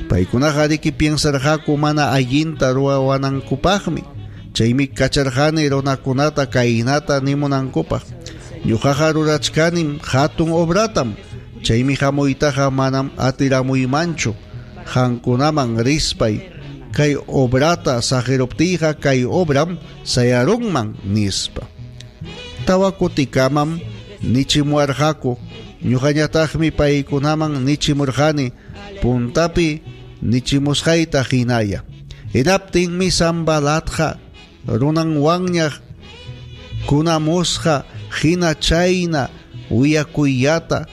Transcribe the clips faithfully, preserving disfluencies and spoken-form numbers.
Paykunaqa riki piensarqaku mana allinta ruwanankupaqmi. Chaymi kacharqani runakunata kaynata nimunankupaq. Ñuqaqa rurachkanim hatun obratam. Chaymi hamuytaqa manam atiramuymanchu. Qamkunaman rispay kay obrata saqiruptiyqa kay obram sayarunman nispa. Tawa kutikamam nichimuwarqaku. Ñuqañataqmi paykunaman nichimurqani puntapi nichimusqayta hinaya. Hinaptinmi Sanbalatqa runanwanña kunamusqa hina chayna willakuyllata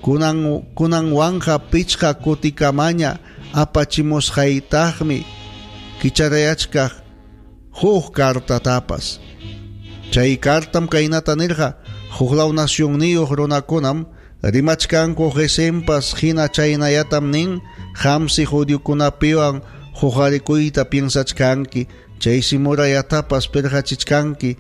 kunan kunanwanqa pichqa kutikamaña apachimusqaytaqmi kicharayachkaq huk kartatapas. Chay kartam kaynata nirqa huklaw nacionniyuq runakunam rimachkanku Gesempas hina chaynayatam nin qamsi judiokunapiwan huqarikuyta piensachkanki chaysi murayatapas pirqachichkanki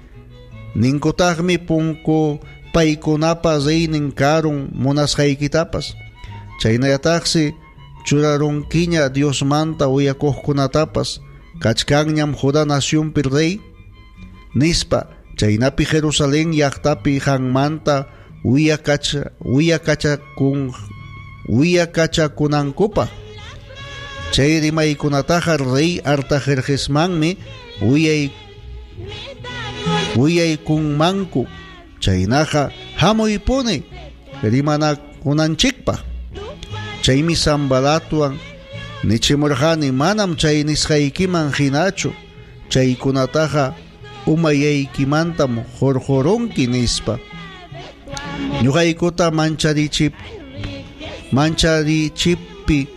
ninkutaqmi punku paykunapa reynin karun munasqaykitapas chaynayataqsi churarunkiña Diosmanta uyakuqkunatapas kachkanñam Judá nacionpi rey nispa chaynapi Jerusalén llaqtapi qanmanta wiyakacha wiyakachakun wiyakachakunankupaq. Chay rimaykunataqa rey Artajerjesmanmi wiyay wiyaykunmanku chaynaqa hamuypuni rimanakunanchikpaq. Chaymi Sanbalatwan nichimurqani manam chay nisqaykiman hinachu chaykunataqa umayaykimantam hurqurunki nispa. Ñuqaykuta mancharichip mancharichippi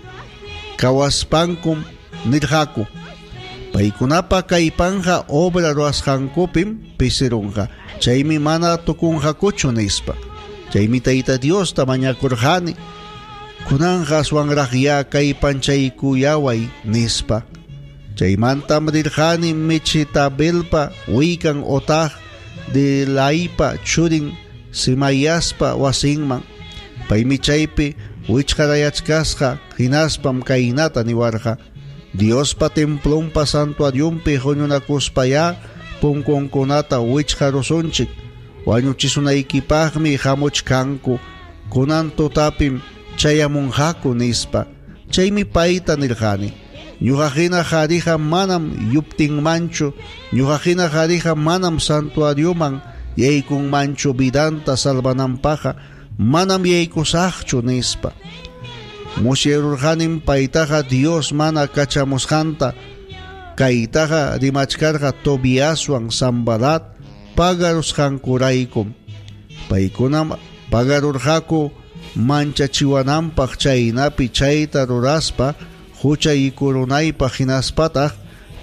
kawaspankum nirqaku. Paykunapa kaypanja obra ruwasqankupim pisirunqa. Chaymi mana tukunqakuchu nispa. Chaymi Tayta Diosta mañakurqani. Kunanqa aswanraqya kaypanchaykuyaway nispa. Chaymantam rirqani Mechetabelpa wikan otaq Delaipa churin Simayaspa wasinman. Paymi chaypi wichqarayachkasqa hinaspam kaynata niwarqa. Diospa templonpa santuarionpi huñunakuspayá punkunkunata wichqarusunchik. Wañuchisunaykipaqmi hamuchkanku. Kunan tutapim chayamunqaku nispa. Chaymi payta nirqani. Ñuqa hina qhariqa manam yuptinmanchu. Ñuqa hina qhariqa manam santuarioman yaykunmanchu vidanta salvananpaqqa manam yaykusaqchu nispa. Musyarurqanim paytaqa Dios mana kachamusqanta kaytaqa rimachkarqa Tobiaswan Sanbalat pagarusqankuraykum. Paykunam pagarurqaku manchachiwananpaq chaynapi chayta ruraspa huchaykurunaypaq hinaspataq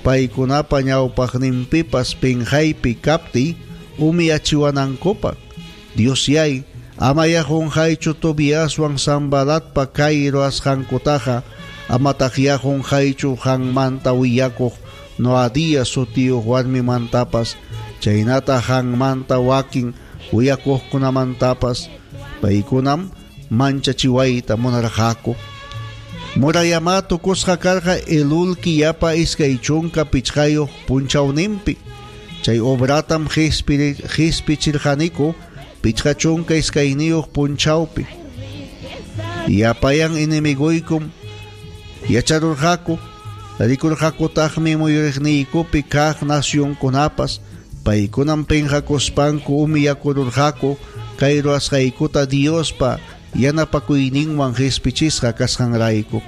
paykunapa ñawpaqninpipas pinqaypi kaptiy umiyachiwanankupaq. Diosyay amaya qunqaychu Tobiaswan Sanbalatpa kay ruwasqankutaqa amataqya qunqaychu qanmanta willakuq Noadías sutiyuq warmimantapas chaynata qanmanta wakin willakuqkunamantapas paykunam manchachiwayta munarqaku. Murayama tukusqa karqa Elul killapa iskay chunka pichqayuq punchawninpi. Chay obratam qispichirqaniku pichqa chunka iskayniyuq punchawpi. Yapayan enemiguykum yacharurqaku rikurqakutaqmi muyuriqniykupi kaq nacionkunapas paykunam pinqakuspanku umiyakururqaku kay ruwasqaykuta Diospa yanapakuyninwan qispichisqa kasqanrayku.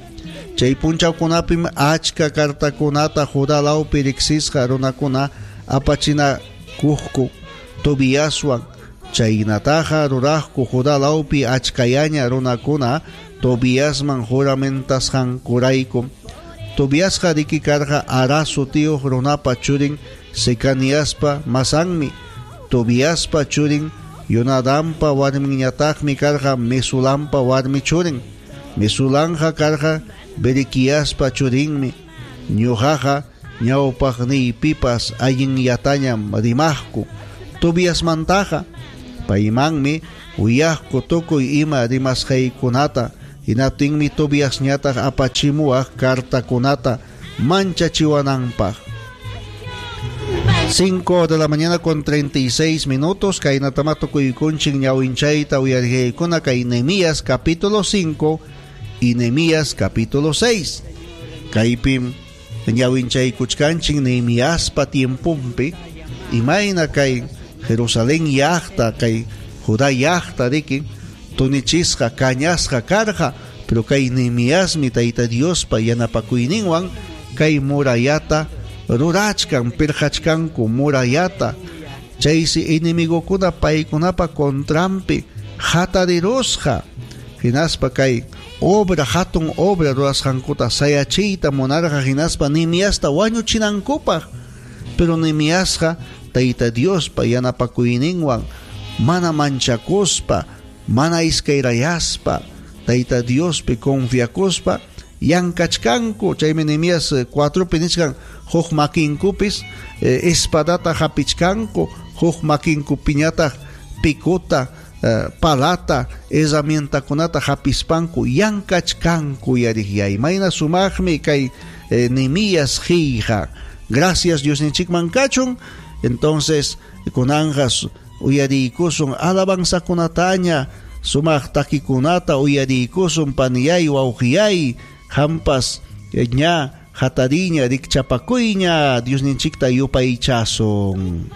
Chay punchawkunapim achka kartakunata Judá lawpi riqsisqa runakuna apachinakuqku Tobiaswan chaynataqa ruraqku Judá lawpi achkayaña runakuna Tobiasman juramentasqankurayku. Tobiasqa riki karqa Ará sutiyuq runapa churin Secaniaspa masanmi. Tobiaspa churin Yonadampa warminñataqmi karqa Mesulampa warmi churin. Mesulamqa karqa Berequiaspa churinmi. Ñuqaqa ñawpaqniypipas allinyatañam rimaqku. Tobiasmantaqa paymanmi uyaqku tukuy ima rimasqaykunata Hinaptinmi Tobiasñataq apachimuwaq cartakunata manchachiwananpaq. cinco de la mañana con treinta y seis minutos, kaynatama tukuykunchik ñawinchayta uyariqaykuna kay Nehemías capítulo cinco y Nehemías capítulo seis. Kaypim ñawinchaykuchkanchik Nehemiaspa tiempumpi imayna kay Jerusalén llaqta kay Judá llaqta riki tunichisqa kañasqa karqa, pero kay Nehemiasmi Tayta Diospa yanapakuyninwan kay murayata rurachkan, pirqachkanku murayata. Chaysi enemigokuna paykunapa contranpi hatarirusqa, hinaspa kay obra hatun obra rurasqankuta sayachiyta munarqa, hinaspa Nehemiasta wañuchinankupaq. Pero Nehemiasqa Tayta Diospa yanapakuyninwan mana manchakuspa, mana iskayrayaspa, Tayta Diospi confiakuspa yankachkanku. Chaymi Nehemías cuatropi nichkan huk makinkupis eh, espadata hapichkanku, huk makinkupiñataq pikuta, eh, palata, herramientakunata hapispanku yankachkanku yariqyay. Mayna sumaqmi kay eh, Nehemías qillqa. Gracias Diosninchikman kachun. Entonces kunanqa uyariykusun alabanzakunataña, sumaq takikunata uyariykusun paniyay wawqiyay, hampas ña hatariña rikchapakuyña Diosninchikta yupaychasun.